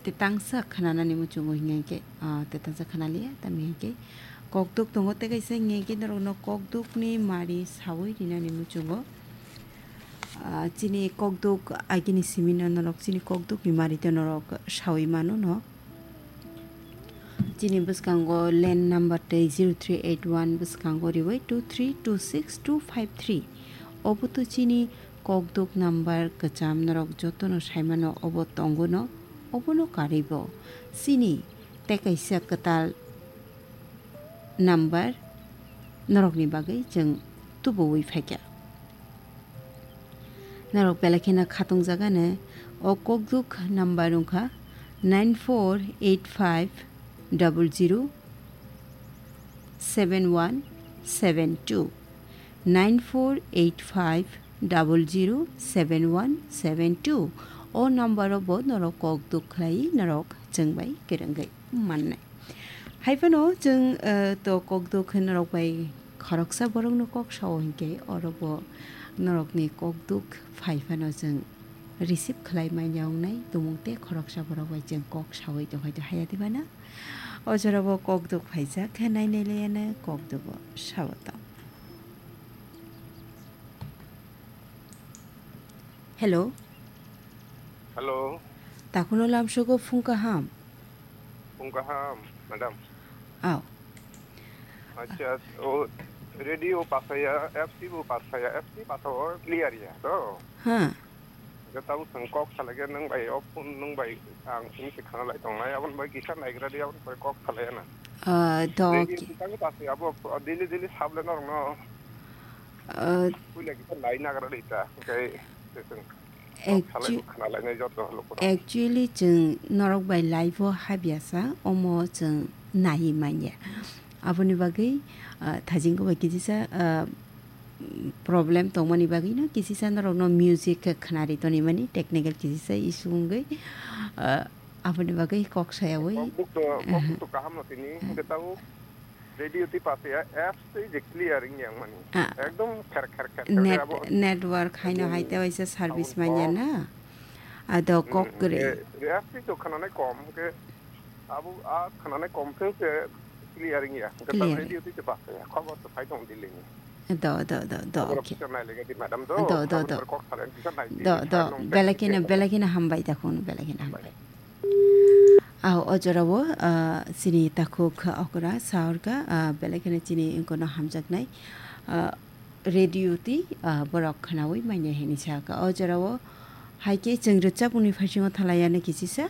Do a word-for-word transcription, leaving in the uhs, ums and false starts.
Tetangsa khnanani muchungo hingya khe, ah, tetangsa khnaliya, tamni hingya khe kokduk tongo, tei kaisa hingya khe norokno kokdukni mari sawi rinani muchungo. Ah, chini kokduk agini simino norok chini kokdukni mari tei norok sawi mano no. Chini bwskango land number tei zero three eight one bwskango riwi two three two six two five three. Obo to chini kokduk number kwcham norok jotono saimano obo tongo no, obono karwi bo. Chini tei kaisa kwtal number norokni bagwi chwng tubuwi phaikha. Norok belai kheno khatungjakgani o kokduk number wngkha nine four eight five double zero seven one seven two, nine four eight five double zero seven one seven two. O number o bo norok kokduk khlai norok chwng bai kwrwngwi mannai. Hai phano chwng, eh, to kokduk khe norok bai khoroksa borokno kok sao hinkhe oro bo norokni kokduk phai phano chwng receive khlai manya wngnai tumung tei khoroksa borok bai chwng kok sawi tongkha to haya diba na? O jora bo kokduk phaijak khe nai nai laiya no kokduk bo sao tong. Hello. Hello. Takhwno lamsogo phung kaham. Phung kaham, madam. Aw. Acha, o radio pasaya, F C bo pasaya, F C pasao clear ya, to? Ha. Ga tau sang kok salage nang bai, o phone nang bai, ang sini se khana lai tong lai, abon bai kisa naigra di, abon bai kok salaya na. Ah, to Radio ki- tang pasaya, abo, o daily, daily sable norok no. Ah. Puila kisa lai nagra di ta, okay, se sung. Actu- Kok salai khana lai nai joto loko no. Actually, chwng norok bai live o habya sa, omo chwng nai manya. Aboni bagwi, ah, thajingo bai kisa sa, ah, problem tongmani bagwi no kisa sa norok no music khe khwnari toni mani technical kisa sa issue wngwi, ah, aboni bagwi kok sayawi. Kokduk to, kokduk to kaham no tini, hwnkhe tabuk radio twi pasaya apps twi je clear wngya wngmani. Ah. Ekdom kher kher kher kher Net-, khe abo network haino abo hai tei waisa service abo manya kok. Na. Ado Hmm, kok kwrwi. Eh, apps twi to khwnanai kom, hwnkhe abo a khwnanai kom pheng se clear wngya. Hwnkhe ta Clear. Radio twi to pasaya. Khobor to phai tong Delhi ni. Do, do, do, do, Khobor okay. Officer nai lega di madam do. Do, do, Khobor do. Kok salai kisa nai di, Do, do. Belai kheno, belai kheno hambai da khun, belai kheno hambai. Aw, o jorao, ah, chini takhuk okra sa orkha, ah, belai kheno chini wngkha no hamjaknai, ah, radio twi, ah, borok khwnawi manya hini sa kha. O jorao hai khe chwng rwchapmungni phaisingno thalaiya no kisisa.